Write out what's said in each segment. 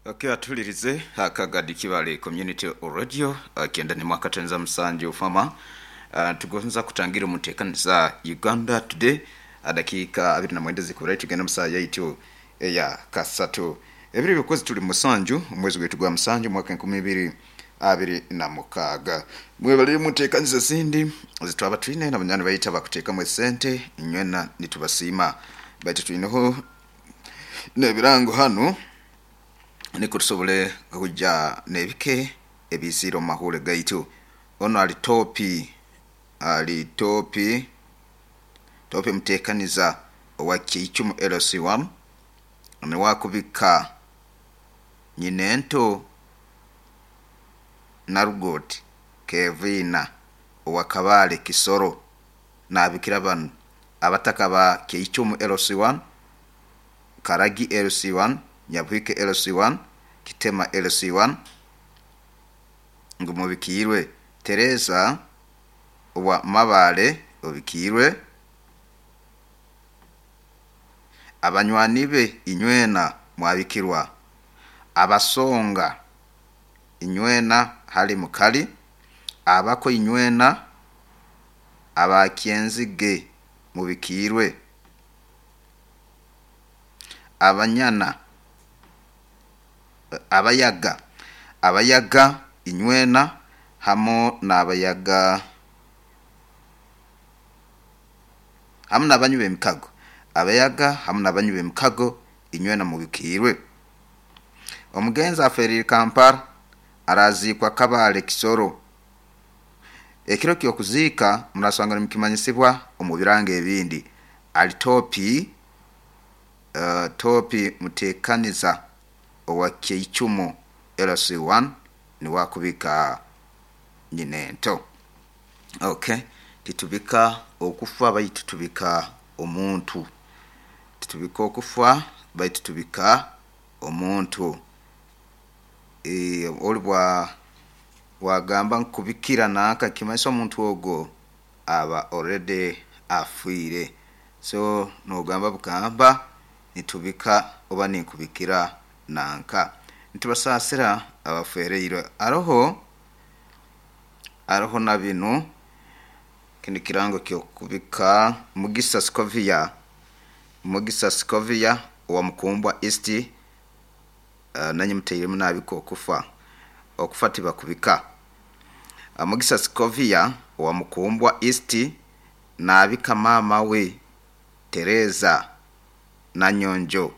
Okay, atulirize akagadi Kibale Community Radio kenda ni mwaka tenza musanju fama. Tugonza kutangira omuteekaniza Uganda Today, dakiika 29 zikubura tugenda musaa yaitu eya kasatu ebiri byokwezi tuli musanju omwezi gwaitu gwa musanju mwaka 2026. Mwebale muteekaniza ezindi zitwaba twine na banywani baitu abakuteekamu esente nywena nitubasiima, baitu twineho n'ebirango hanu niko tusobole kujja n'ebike ebisiire omu mahure gaitu. Ono ali topi, ali topi topi muteekaniza owa Kiicumu LC1 niwakubika nyinento Narugot Kevina owa Kabale Kisoro nabikira banu abataka ba Kiicumu LC1, Karagi LC1, Nyabuhike LC1, Kitema LC1 ngu mubikiirwe. Teresa owa Mabale obikiirwe, abanywani be inywena mwabikirwa, abasonga inywena hali mukali, abako inywena, abakyenzige mubikiirwe, abanyana abayaga abayaga inywena hamu n'abayaga hamu n'abanywi b'emikago, abayaga hamu n'abanywi b'emikago inywena mubikiirwe. Omugenzi aferire Kampala araziikwa Kabale Kisoro. Ekiro ky'okuziika murasanga nimukimanyisibwa omu birango ebindi. Ali topi, topi muteekaniza owa Kiicumu LC1 niwakubika nyinento. Okay, titubika okufa baitu tubika omuntu. Titubika okufa baitu tubika omuntu. Oli bwa wagamba nkubikira nanka kimanyisa omuntu ogwo aba already afiire. So nogamba bugamba nitubika oba ninkubikira nanka. Nitubasaasira abafereirwe. Aroho aroho na binu kinu kirango kyokubika Mugisa Scovia, Mugisa Scovia owa Mukumbwa East, nanye mutairemu nabika okufa, okufa tibakubika. Mugisa Scovia owa Mukumbwa East nabika maama we Teresa Nanyonjo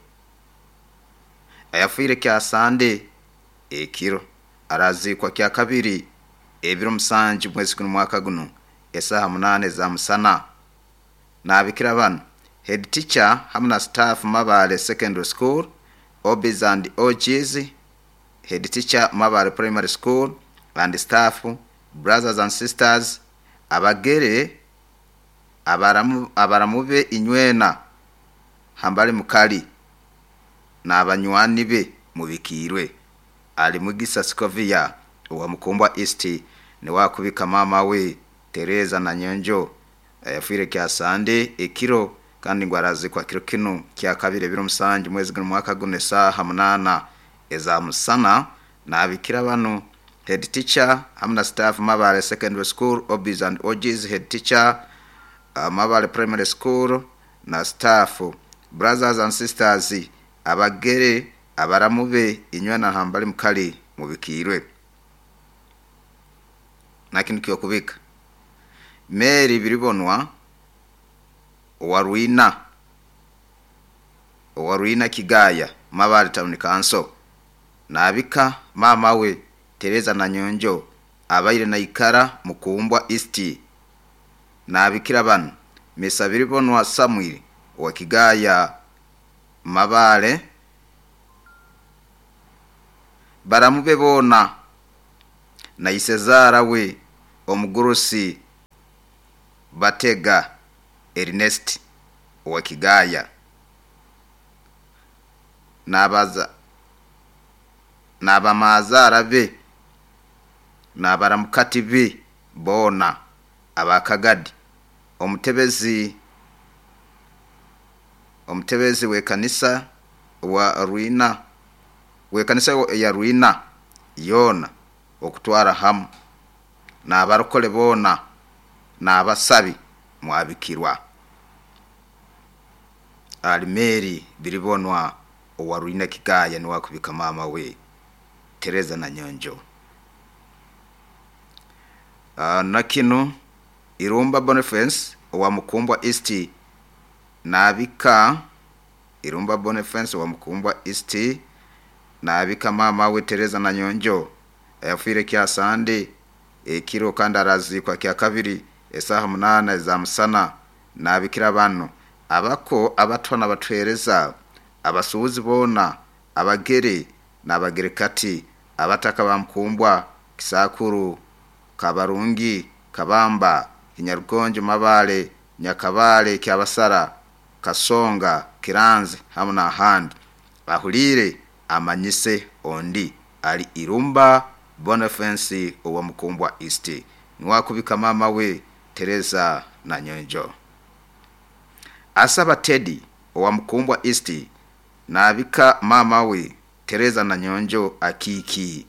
ayafiire kya Sande ekiro, araziikwa kya kabiri ebiro musanju mwezi guno mwaka guno esaaha 8 eza musana. Nabikira banu head teacher hamu na staff Mabale Secondary School, OBs and OGs, head teacher Mabale Primary School and staff, brothers and sisters, abagere abaramu abaramu be inywena hambali mukali n'abanywani be mubikiirwe. Ali Mugisa Scovia owa Mukumbwa East niwakubika maama we Teresa Nanyonjo ayafiire kya Sande ekiro kandi ngu arazikwa kiro kinu kya kabiri ebiro musanju mwezi guno mwaka guno esaaha 8 eza musana. Nabikira banu head teacher hamu na staff Mabale Secondary School, OBs and OGs, head teacher Mabale Primary School na staff, brothers and sisters, abagere abaramu be inywena hambali mukali mubikiirwe. Na kinu kyokubika Mary Biribonwa owa Rwina, owa Rwina Kigaya Mabale Town Council nabika maama we Teresa Nanyonjo abaire naikara Mukumbwa East. Nabikira banu Mesa Biribonwa Samuel owa Kigaya Mabale, baramu be boona na isezaara we omugurusi Batega Ernest owa Kigaya, nabaza n'abamazaara be n'abaramukati be boona abakagadi, omutebezi omutebezi w'ekanisa wa Rwina W'ekanisa ya Rwina yoona okutwara hamu n'abarokole boona n'abasabi mwabikirwa. Alimeri Biribonwa owa Rwina Kigaya niwe akubika maama we Tereza Nanyonjo. Na kinu Irumba Boniface owa Mukumbwa East naabika Irumba Boniface owa Mukumbwa East naabika maama we Tereza Nanyonjo ayafiire Kyasande ekiro kandi araziikwa Kyakabiri esaaha 8 eza musana. Naabikira banu abako, abatwa n'abatwereza, abasuubuzi boona, abagere n'abagerekati, abataka ba Mukumbwa, Kisakuru, Kabarungi, Kabamba, Kinyarugonjo, Mabale, Nyakabale, Kyabasara, Kasonga, Kiranzi hamu n'ahandi. Ahuliire amanyise ondi ali Irumba Boniface owa Mukumbwa East niwe akubika maama we Tereza Nanyonjo. Asaba Teddy owa Mukumbwa East naabika maama we Tereza Nanyonjo Akiiki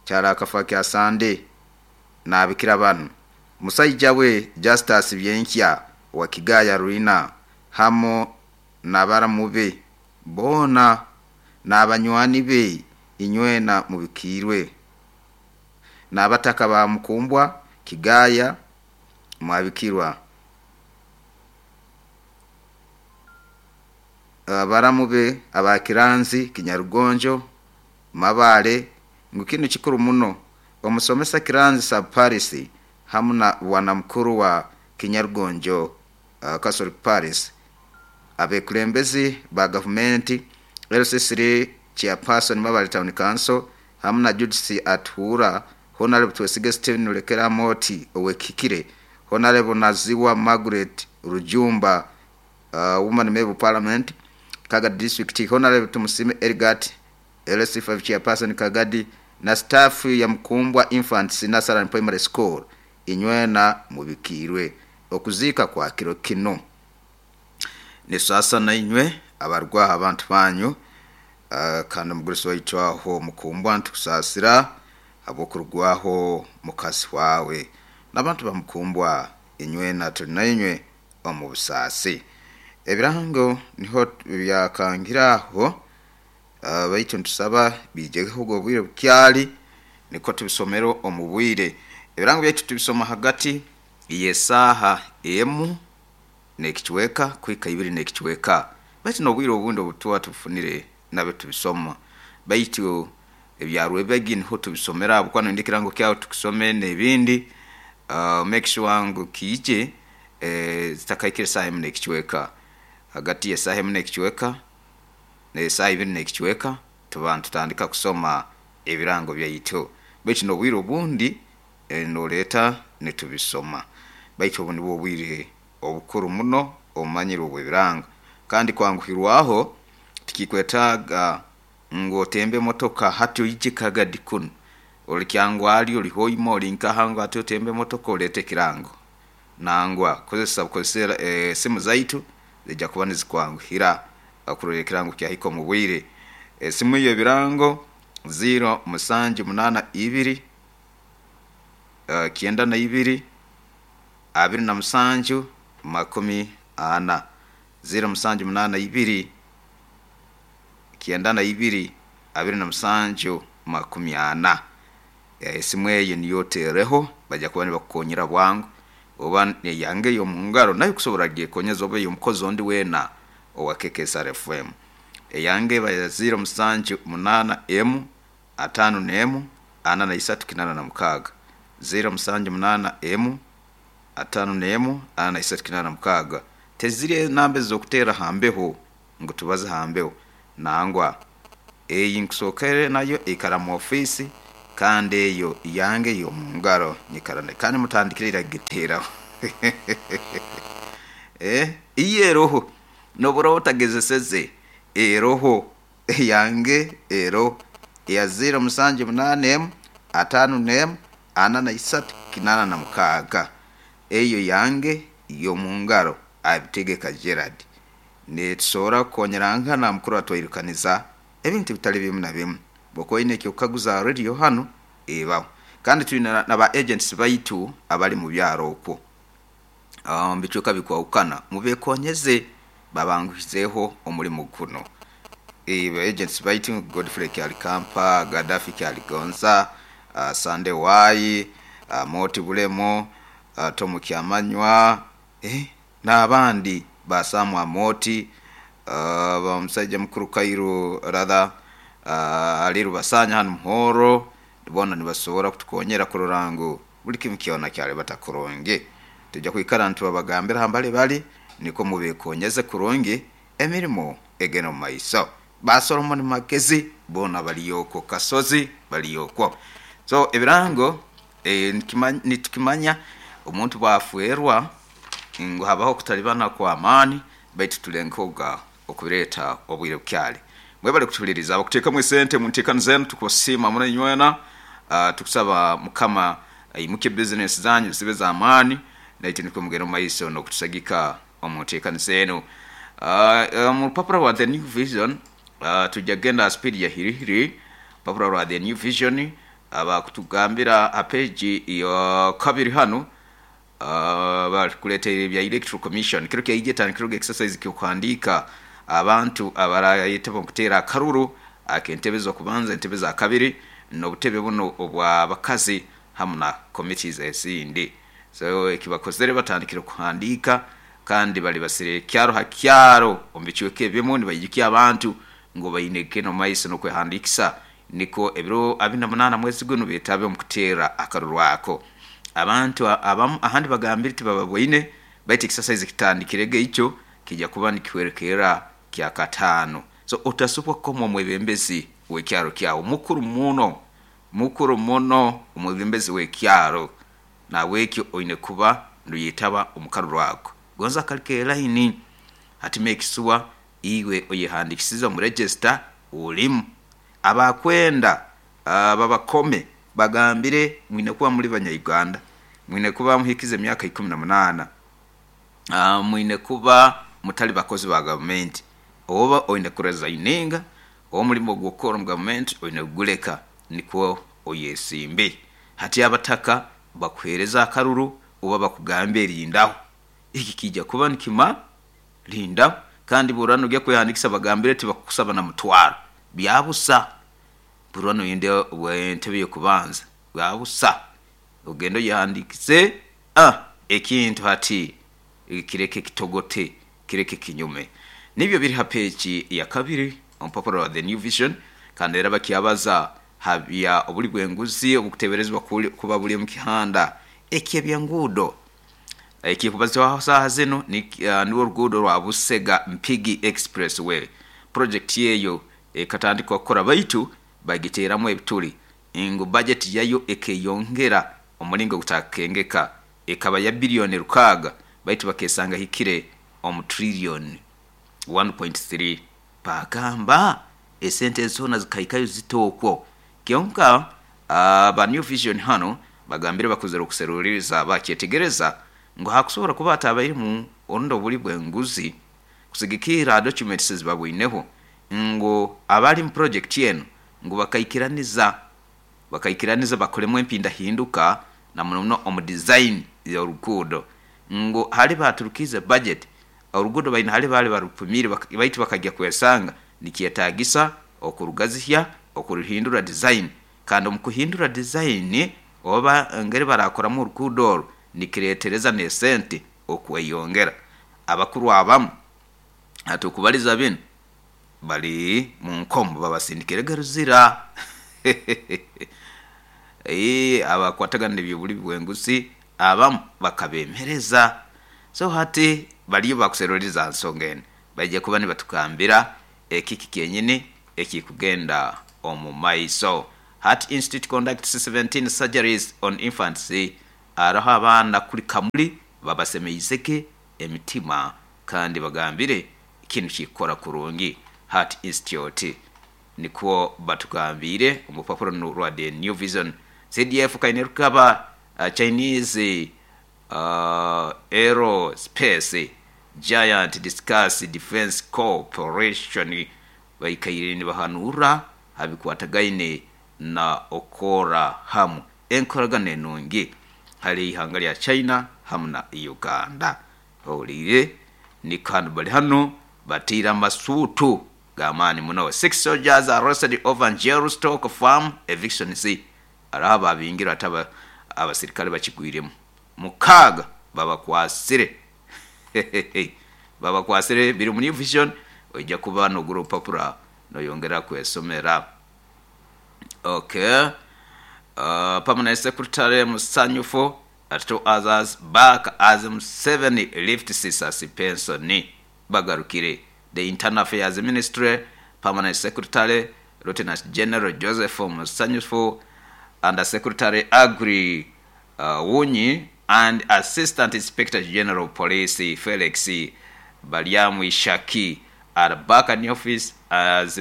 kyara akafa kya Sande. Naabikira banu musaija we Justus Byenkya owa Kigaya Rwina hamu n'abaramu be boona n'abanywani be inywena mubikiirwe. N'abataka ba Mukumbwa Kigaya mwabikirwa. Abaramu be aba Kiranzi, Kinyarugonjo, Mabale, ngu kinu kikuru muno. Omusomesa Kiranzi Sub Paris hamu na bwana mukuru wa Kinyarugonjo Catholic Paris, abekulembezi ba gavumenti, LC3 Chairperson Mabale Town Council hamu na Judith Atuura, Honorable Twesige Stephen Lulekera Moti owekikire, Honorable Naziwa Margaret Rujumba Woman Member of Parliament Kagadi District, Honorable Tumusime Elgat LC5 Chairperson Kagadi na staff ya Mukumbwa Infants Nursery and Primary School inywena mubikiirwe okuziika kwa kiro kinu. Nisasa na inywe abarwaho abantu banyu, kandi omugurusi waitu aho Mukumbwa ntukusaasira habw'okurugwaho mukazi wawe n'abantu ba Mukumbwa inywena tuli na inywe omu busaasi. Ebirango niho byakangira aho, baitu ntusaba biijeho obwire bukyali niko tubisomere omu bwire. Ebirango byaitu tubisoma hagati y'esaaha 1 n'ekicweka kuhika 2 n'ekicweka, baitu n'obwire obundi obutuba tubufunire nabyo tubisoma, baitu ebya Rwebegi niho tubisomera habwokuba noyenda ekirango kyawe tukisome n'ebindi. Make sure ngu kiije zitakahikire esaaha 1 n'ekicweka. Hagati y'esaaha 1 n'ekicweka n'esaaha 2 n'ekicweka tuba nitutandika kusoma ebirango byaitu, baitu n'obwire obundi noleeta nitubisoma, baitu obu nibwo obwire obukuru muno omumanyire obw'ebirango. Kandi kwanguhirwaho tikikwetaaga ngu otembe emotoka hati oije Kagadi kunu, oli Kyangwali, oli Hoima, oli nkaha ngu hati otembe emotoka oleete ekirango. Nangwa kozesa bukozesa esimu zaitu ziija kuba nizikwanguhira kurora ekirango kyahika omu bwire. Esimu y'ebirango 0782 92 27 40, 0782 92 27 40. Esimu eyo niyo oteereho, baija kuba nibakukonyera bwangu, oba neyange ey'omungaro nayo kusobora gyekonyeza oba ey'omukozi ondi weena owa KKSR FM. Eyange eba ya 078 1 51 43 86, 078 1 51 43 86. Teziri enamba ez'okuteera ha mbeho ngu tubaze ha mbeho, nangwa eyi nkusookere nayo ikara mu ofiisi kandi eyo yange ey'omungaro nyikara nayo kandi mutandikire ira kugiteeraho. Iyo eroho n'obu oraaba otagezeseze eroho eyange eroho eya 078 51 43 86, eyo yange y'omungaro Abitegeka Gerard. Nitusobora kukonyerangana mukuru atwairukaniza. Ebintu bitali bimu na bimu. Bwokuba oine ekyokukaguza ha radio hanu, ebaho. Kandi twine na ba agents baitu abali mu byaro okwo omu bicweka bikwahukana, mubekonyeze babanguhizeeho omulimo guno. Ba agents baitu Godfrey Kyalikampa, Gaddafi Kyaligonza, Sunday Wai, Moti Bulemo, Tomu Kyamanywa, n'abandi ba Sam Amoti, ba musaija mukuru Kairu rather Ali Rubasanya hanu Muhoro, boona nibasobora kutukonyera kurora ngu buli kimu kyona kyalibata kurungi. Twija kwikara nitubabagambira hambali bali nukwo mubekonyeze kurungi emirimo egende omu maiso. Ba Solomon Magezi boona bali okwo, Kasozi bali okwo. So ebirango nitukimanya omuntu bwafwerwa ngu habaho okutalibana kw'amaani baitu tulengehoga okubireeta obwire bukyali. Mwebale kutuhuliriza. Abakuteekamu esente mu nteekaniza enu tukubasiima muno inywena. Tukusaba Mukama aimukye bizinesi zanyu zibe z'amaani naitwe nukwo mugende omu maiso n'okutusagika omu nteekaniza enu. Omu rupapura rwa The New Vision twija kugenda ha sipiidi ya hirihiri. Rupapura rwa The New Vision bakutugambira ha peegi ya kabiri hanu Barikuleeta ebya Electoral Commission kiro kyaija etandikirwega exercise ky'okuhandiika abantu abarayetaba omu kuteera akaruru ak'entebe z'okubanza, entebe za kabiri n'obutebe bunu obw'abakazi hamu na committees ezindi. So ekibakozere batandikire kuhandiika kandi balibasire kyaro ha kyaro omu bicweka ebimu nibaijukya abantu ngu baine kugenda omu maiso n'okwehandiikisa nikwo ebiro abiri na munaana mwezi gunu betabe omu kuteera akaruru ako. Abantu abamu ahandi bagambire tibababoine baitu ekisasaizi kitandikirege ikyo kija kuba nikihwerekerra kyakataano. So otasobwa kukoma omwebembezi w'ekyaro kyawe. Mukuru muno, mukuru muno omwebembezi w'ekyaro. Nahabwekyo oine kuba noyetaba omu karuru ako. Gonza kali k'elaini, hati make sure iwe oyehandikisize omu register olimu. Abakwenda babakome bagambire mwine kuba muli Banyauganda, mwine kuba muhikize emyaka 18, mwine kuba mutali bakozi ba gavumenti, oba oine kuresigninga omulimo ogw'okukora omu gavumenti oine kuguleka nikwo oyesimbe. Hati abataka bakuhereze akaruru oba bakugambe rindaho. Eki kiija kuba nikima rindaho kandi bw'oraba nogya kwehandikisa bagambire tibakukusaba na mutwaro. Byabusa. Bw'oraba noyenda entebe y'okubanza bwabusa. Ogende oyehandiikise ekintu hati kireke kitogote, kireke kinyume. Nibyo biri ha peegi ya kabiri omu rupapura rwa The New Vision kandi era bakyabaza ha bya obuli bw'enguzi obukuteeberezebwa kuba buli omu kihanda eky'eby'enguudo. Ekirikubazibwaho saaha zinu nirwo oruguudo rwa Busega Mpigi Expressway. Purojekiti eyo ekatandikwa kukora baitu bagiteeramu ebituli ngu bajeti yayo ekeyongera omulingo ogutakukengeka ekaba ya biliyoni 6 baitu bakesanga ehikire omu triliyoni 1.3. Bagamba esente ezi zoona zikahikayo zita okwo? Kyonka aba New Vision hanu bagambire bakozire okuseruliiriza bakyetegereza ngu hakusobora kuba hatabairemu orundi obuli bw'enguzi kusigikirra ha documents ezibabwineho ngu abali mu project enu ngu bakaikiraniza bakaikiraniza bakolemu empindahinduka na muno muno omu design y'oruguudo ngu hali baturukiize budget oruguudo baine hali baali barupumiire baitu bakaija kwesanga nikyetaagisa okurugazihya, okuruhindura design kandi omu kuhindura design oba engeri barakoramu oruguudo oru nikireetereza n'esente okweyongera. Abakuru abamu hati okubaliza binu bali mu nkomo babasindikirege Luzira. Abakwatagana n'eby'obulimi bw'enguzi abamu bakabemereza. So hati baliyo bakuseruliriza ha nsonga enu. Baija kuba nibatugambira ekiki kyenyini ekikugenda omu maiso. Heart Institute conducts 17 surgeries on infants. Haroho abaana kuli Kamuli babasemeizege emitima kandi bagambire kinu kikukora kurungi. Heart Institute nikwo batugambiire omu rupapura runu rwa The New Vision. CDF Kainerugaba Chinese Aerospace Giant Discuss Defence Cooperation. Baikaire nibahanura ha bikwatagaine na okukora hamu enkoragana enungi hali ihanga lya China hamu na Uganda. Ohuliire nikwo bali hanu bataire amasuutu g'amaani muno. Six soldiers arrested over Njeru stock farm evictions. Hariho ababingirwe ate abasirikare bakigwiremu. 6 babakwasire. Babakwasire biri omu New Vision, oija kuba nogura orupapura noyongera kwesomera. Okay. Permanent Secretary Musanyufu and two others back as Museveni lifts suspension. Bagarukire. The Internal Affairs Ministry Permanent Secretary Lieutenant General Joseph Musanyufu, Under Secretary Agri Wunyi and Assistant Inspector General of Police Felix Baryamwishaki are back in office as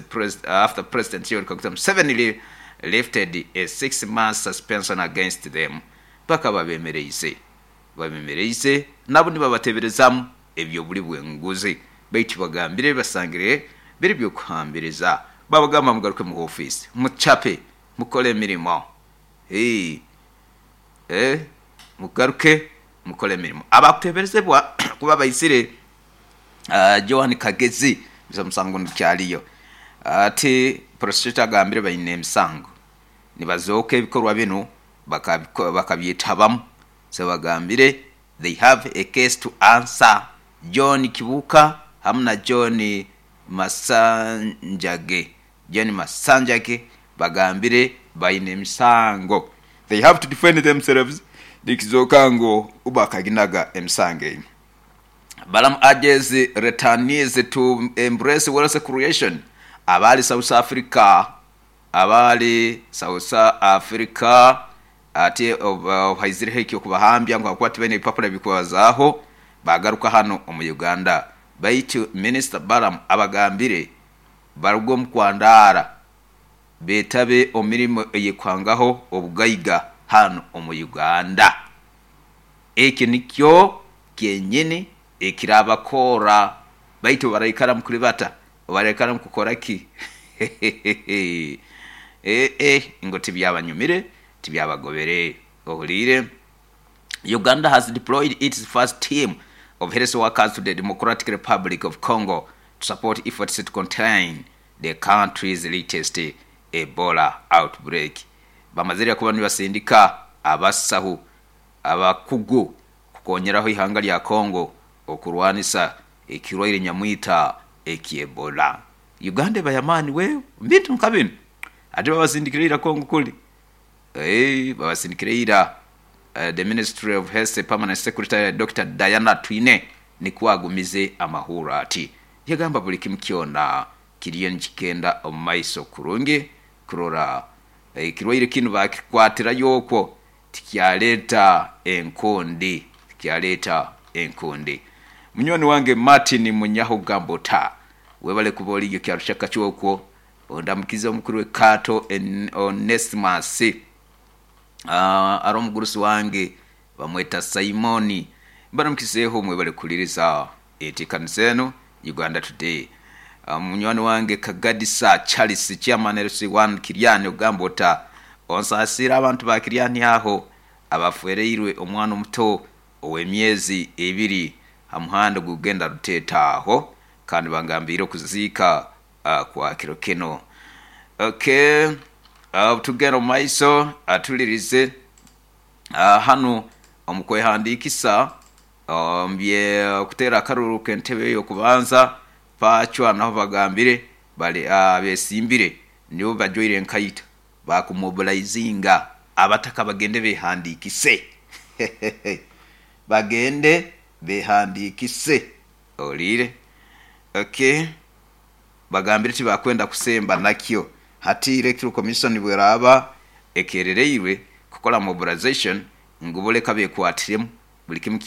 after President Yoweri Kaguta Museveni lifted a 6-month suspension against them. Bakaba bemereize babemereize nabo nibabateberezamu eby'obuli bw'enguzi baitu bagambire basangire biri by'okuhambiriza. Babagamba mugaruke mu ofiisi mucape mukole emirimo. Hii. Eh, mugaruke mukole emirimo. Abakuteberezebwa kuba baizire Joan Kagezi omusango nigukyaliyo. Ati prosecutor agambire baine emisango nibazooka ebikorwa binu bakabyetabamu. So bagambire they have a case to answer. John Kibuuka hamu na John Masanjage, John Masanjage bagambire baine emisango. They have to defend themselves nikizooka ngu bakaginaga emisango egi. Balaam urges returnees to embrace wealth creation. Abaali South Africa abaali South Africa ati obu haizireho eky'okubahambya ngu habwokuba tibaine bipapura ebikubazaaho baagaruka hanu omu Uganda. Baitu Minisita Balaam abagambire baruge omu kwandaara beetabe omu mirimo ey'ekuhangaho obugaiga hanu omu Uganda. Ekyo nikyo kyenyini ekirabakorra. Baitu obu baraikara mukulibata, obu baraikara mukukora ki? Eeh ngu tibyabanyumire, tibyabagobere. Ohuliire? Uganda has deployed its first team of health workers to the Democratic Republic of Congo to support efforts to contain the country's latest Ebola outbreak. Bamazire kuba nibasindika abasahu abakugu kukonyeraho ihanga lya Congo okurwanisa ekirwaire nyamwita eky'Ebola. Uganda eba y'amaani we omu bintu nka binu. Ate babasindikire ira Congo kuli. Eeh babasindikire ira. The Ministry of Health Permanent Secretary Dokita Diana Atwine nikwo agumize amahurro ati, Yagamba buli kimu kyona kiriyo nikigenda omu maiso kurungi kurora ekirwaire kinu bakikwatirayo okwo tikyaleeta enkundi, tikyaleeta enkundi. Munywani wange Martin Munyaho Gambota, webale kuba oriyo Kyarushaka okwo, ondamukize omukuru w'ekaato Onesimus, ari omugurusi wange bamweta Simoni. Mbaramukizeeho mwebale kuhuliriza enteekaniza enu Uganda Today. Munywani wange Kagadisa Charles, Chairman LC1 Kiryani ogamba ota, onsaasiire abantu ba Kiryani aho abafwereirwe omwana omuto ow'emyezi ebiri ha muhanda ogurikugenda Ruteeta aho kandi bangambiire okuziika kwa kiro kinu. Okay, tugenda omu maiso atulirize hanu omu kwehandiikisa omu by'okuteera akaruru k'entebe y'okubanza Pacwa naho bagambire bari abesimbire nibo bajwaire enkaito bakumobilaizinga abataka bagende behandiikise bagende behandiikise ohuriire okay bagambire tibakwenda kusemba nakyo hati Electoral Commission bweraaba ekerereirwe kukora mobilization ngu bo leka bekwatiremu buri kimu.